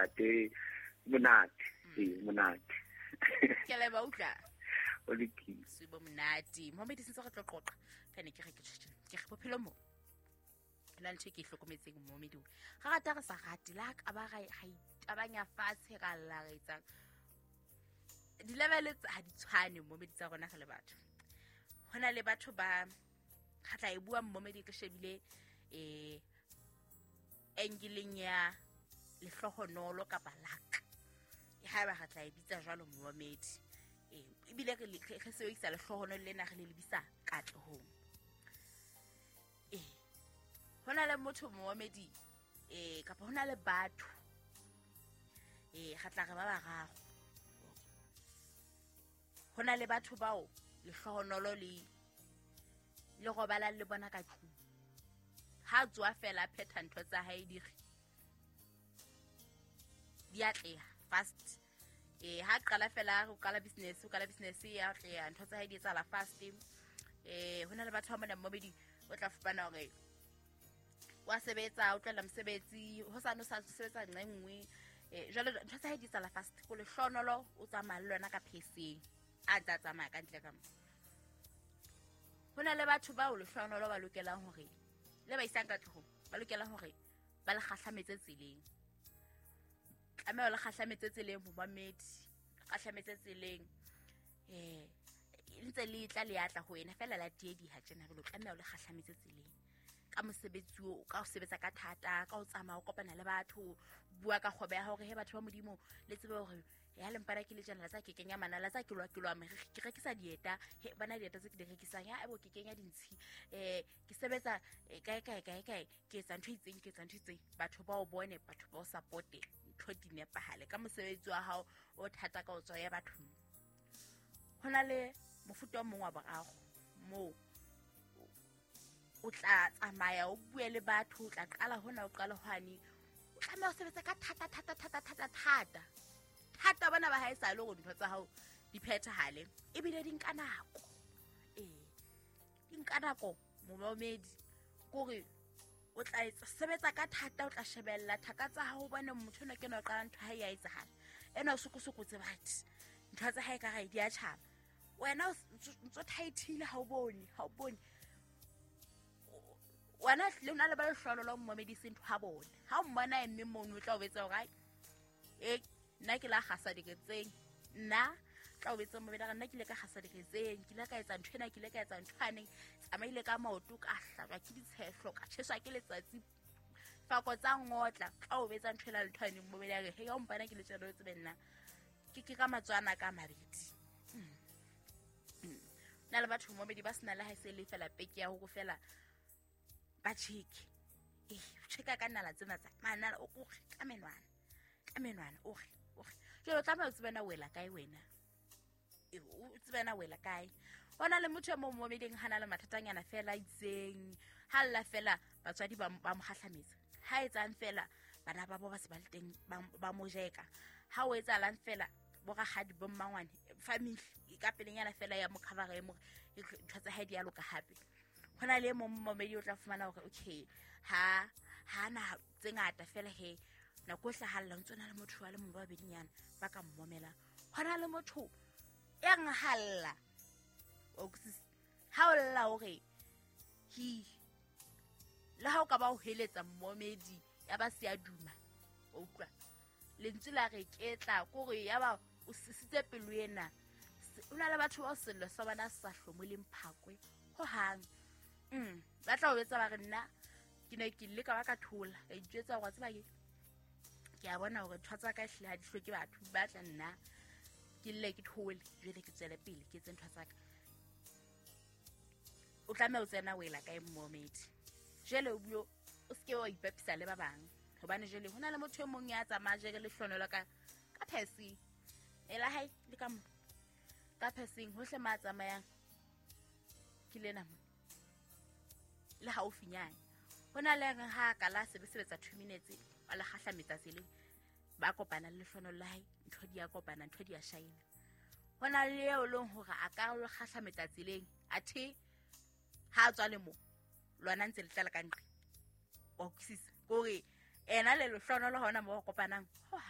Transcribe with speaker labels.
Speaker 1: Ntate, monate. Ee, monate.
Speaker 2: Ke a leboha, utlwa.
Speaker 1: O lokile.
Speaker 2: Bosiu bo monate. Mohamedi, sentse re tlo qoqa. Ka ne ke re ke tjhe, ke re bophelo mo. Na ntho e ke e hlokometseng momedi, ga rata re sa rate le ha ka ba ra itabanya fatshe, ra lla, re etsang di-level ha di tshwane momedi tsa rona re le batho. Ho na le batho ba ga tla e bua momedi ke shebile angle ya lehlohonolo kapa luck, haeba re tla e bitsa jwalo momedi. Ebile re sebedisa lehlohonolo lena re le lebisa katlehong. Ho na le motho momedi, kapa ho na le batho, re tla re ba bararo. Ho na le batho bao lehlohonolo le robalang le bona ka tlung. Ha tsoa fela, a phetha ntho tsa hae, di re di atleha fast. Ha qala fela ho qala business, o qala business ya atleha, ntho tsa hae di etsahala fast. Ho na le batho ba mona mmobedi, o tla fumana hore wa sebetsa, o tlohela mosebetsi, ho sane o sa sebetsa nqa e nngwe. Jwale ntho tsa hae di etsahala fast, ko lehlohonolo o tsamaya le lona ka pheseng, a ntse a tsamaya ka ntle ka mo. Ho na le batho bao lehlohonolo ba lokelang hore le ba isang katlehong, ba lokelang hore ba le kgahlametse tseleng. Tlameha le kgahlametse tseleng, momamedi, kgahlametse tseleng. Ntse le tla le atla ho wena fela la tiediha tjena, jwale o tlameha o le kgahlametse tseleng ka mosebetsi o ka o sebetsa ka thata, ka o tsamaya, o kopana le batho, bua ka kgwebo ya hore he batho ba Modimo, le tsebe hore ya lempana ke le tjena, la tsa ke kenya manala, tsa ke lwa ke lwa meriri, ke rekisa dieta, he bana dieta tse ke di rekisang, ya ebo ke kenya dintshi, ke sebetsa kae kae kae kae, ke etsa ntho e itseng, ke etsa ntho e itseng. Batho ba o bone, batho ba o supporte, ntho di nepahale ka mosebetsi wa hao o thata ka o tswa ya bathong. Ho na le mofuta o mong wa boraro moo o tla tsamaya, o bue le batho, o tla qala hona, o qala hwane, o tlameha ho sebetsa ka thata thata thata thata thata thata bona ba hae sale hore ntho tsa hao di phethahale, ebile di nka nako. Di nka nako momamedi, kore o tla etsa sebetsa ka thata, o tla shebella thaka tsa hao, bone motho enwa ke ena o qala ntho ha e ya etsahala, ena o sokosokotse batho, ntho tsa hae ka gae di a tjhaba, wena o ntso thaithile, ha o bone, ha o bone. Wena hlile o na le ba lehlohonolo momedi, se ntho ha bone. Ha o mmona emme mono, o tla o betsa hore ai, nna ke la kgasa diketseng, nna tla o betsa momedi, nna ke ile ka kgasa diketseng, ke ile ka etsa ntho ena, ke ile ka etsa ntho aneng, tsamaile ka maoto, ka hlajwa ke ditshehlo, ka tjheswa ke letsatsi, fako tsa ngotla, tla o betsa ntho ena le ntho aneng momedi, a re he, ya o mpana ke le tjena, o tsebe nna ke ka matswana ka mabedi. Na le batho momedi ba sena le ha se le fela peke ya hore fela ba cheke, cheka ka nala tsena tsa manala, o re ka menwana, ka menwana, o re o re jwale o tlameha o tsebe na wela kae wena, o tsebe na wela kae. Ho na le motho e mong momeding, ha na le mathatanyana fela itseng, ha lla fela batswadi ba mo kgahlametsa, ha etsang fela bana ba bo ba se ba le teng, ba mo jeka, ha o etsahalang fela bo rakgadi, bo mmangwane, family ka pelenyana fela ya mo cover, e mo ntho tsa hae di a loka hape. Ho na le e mong momedi, o tla fumana hore okay, ha na tse ngata fela, he nako e hlahalla ntse na le motho wa le mong ba babedinyana ba ka mmomelang. Ho na le motho ya ngahalla, o utlwisisa? Ha o lla hore hi, le ha o ka ba o heletsa mmomedi, ya ba se a duma, o utlwa lentswe la re ketla, kore ya ba o sisitse pelo ena. O na le batho bao sello sa bona se sa hlomoleng phakwe hohang. Ba tla o etsa ba re nna ke ne ke leka ba ka thola, ka itjwetsa hore wa tseba ke a bona hore ntho tsa ka ehlile ha di hloke batho, ba tla nna ke lle ke thole, jwale ke tswele pele ke etse ntho tsa ka. O tlameha o tsena wela kae mmomedi? Jwale o bue, o seke wa ipapisa le ba bang, hobane jwale ho na le motho e mong ya tsamaya jere lehlonolo ka pheseng e la hae, le ka mo ka pheseng hohle ma tsamayang ke lena mo le haufinyane. Ho na le reng ha ka la sebetsa 2 minutes, a le kgahlametsa tseleng, ba kopana le lehlonolo la hae, ntho di a kopana, ntho di a shaina. Ho na le eo leng hore a ka le kgahlametsa tseleng, athe ha a tswa le mo lona ntse le tlala ka ntle, wa utlwisisa? Kore ena le lehlonolo hona mo ba kopanang ho